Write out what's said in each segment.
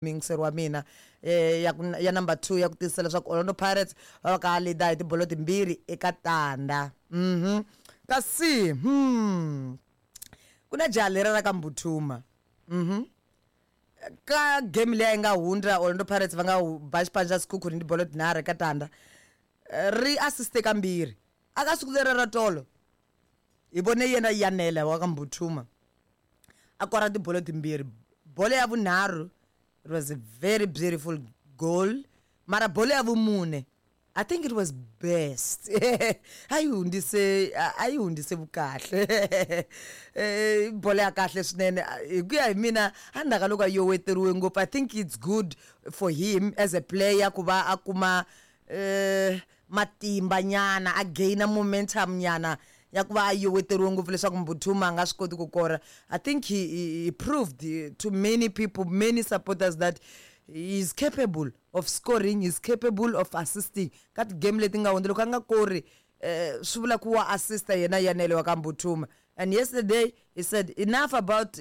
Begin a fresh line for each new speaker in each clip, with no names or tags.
Muyingiseri wa mina ya ku ya number 2 ya ku tiyisisa leswaku Orlando Pirates va va ka leader hi tibolo timbirhi eka tanda. Kasi ku na jaha leri ra ka Mbuthuma. Ka game leyi nga hundza Orlando Pirates va nga ba xipano xa Sekhukhune hi tibolo tinharhu eka tanda. Ri assiste kambirhi. Aka siku leri ra tolo hi vone yena Yanela wa ka Mbuthuma a kora tibolo timbirhi. Bolo ya vunharhu it was a very beautiful goal, mara bolo ya vumune I think it was best. A yi hundzise, a yi hundzise vukahle. Bolo ya kahle swinene hi ku ya hi mina, endzhaku ka loko a yoweteriwe ngopfu, I think it's good for him as a player ku va a kuma matimba nyana, a gain momentum nyana ya ku va a yoweteriwe ngopfu leswaku Mbuthuma a nga swi koti ku kora. I think he proved to many people, many supporters that he is capable of scoring, he is capable of assisting. Ka ti-game leti nga hundza loko a nga kori, swi vula ku wa assista yena Yanele wa ka Mbuthuma. And yesterday he said enough about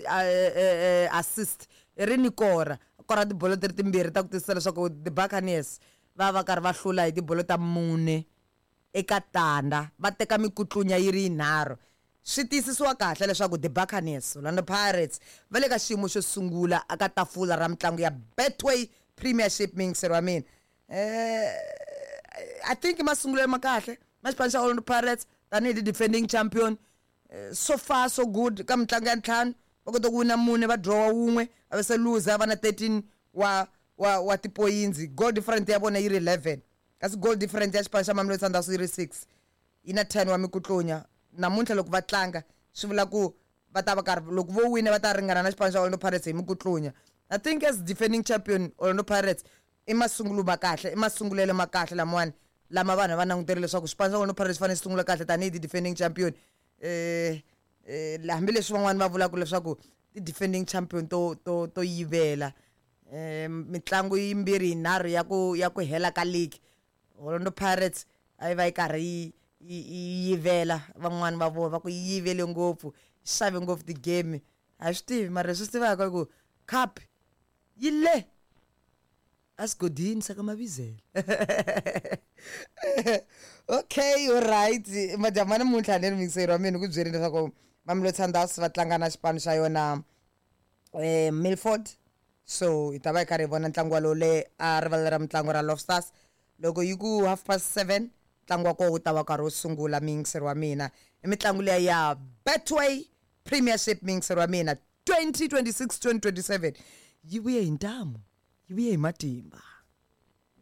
assist, i ri ni kora. Kora tibolo ti ri timbirhi ta ku tiyisisa leswaku the Buccaneers va va karhi va hlula hi tibolo ta mune eka tanda, va teka mikutlunya yi ri yinharhu. Swi tiyisisiwa kahle leswaku the Buccaneers, Orlando Pirates va le ka xiyimo xo sungula eka tafula ra mitlangu ya Betway Premiership. Muyingiseri wa mina, I think i masungulelo ma kahle ma xipano xa Orlando Pirates tanihi ti defending champion. So far so good ka mitlangu ya ntlhanu, va kota ku wina mune, va draw wun'we, va ve se loser, va na 13 wa tipoyinzi. Goal difference ya vona yi ri 11, kasi goal difference ya xipano xa Mamelodi Sundowns yi ri 6, yi na 10 wa mikutlunya. Namuntlha loko va tlanga swi vula ku va ta va karhi, loko vo wina va ta ringana na xipano xa Orlando Pirates hi mikutlunya. I think as defending champion Orlando Pirates i masungulo ma kahle, i masungulelo ma kahle lamawani lama vanhu va langutele leswaku xipano xa Orlando Pirates xi fanele xi sungula kahle tanihi ti defending champion. Hambileswi van'wani va vulaka leswaku ti defending champion to yivela mitlangu yimbirhi yinharhu ya ku hela ka league, Orlando Pirates a yi va yi karhi yi yivela. Van'wani va vona va ku yi yivele ngopfu, yi xave ngopfu ti-game. A hi swi tivi, mara leswi swi tivaka i ku cup yi le esigodini xa ka Mavizela. Okay, all right, madyambu ya namuntlha ni ri muyingiseri wa mina ku byerini leswaku Mamelodi Sundowns va tlanga na xipano xa yona Milford. So hi ta va hi karhi hi vona ntlangu walowo le a rivala ra mitlangu ra Lofsters. Loko yi ku 7:30 ntlangu wa kona wu ta va karhi wu sungula. Muyingiseri wa mina, i mitlangu liya ya Betway Premiership, muyingiseri wa mina, 2026 2027 yi vuye hi ntamu, yi vuye hi matimba.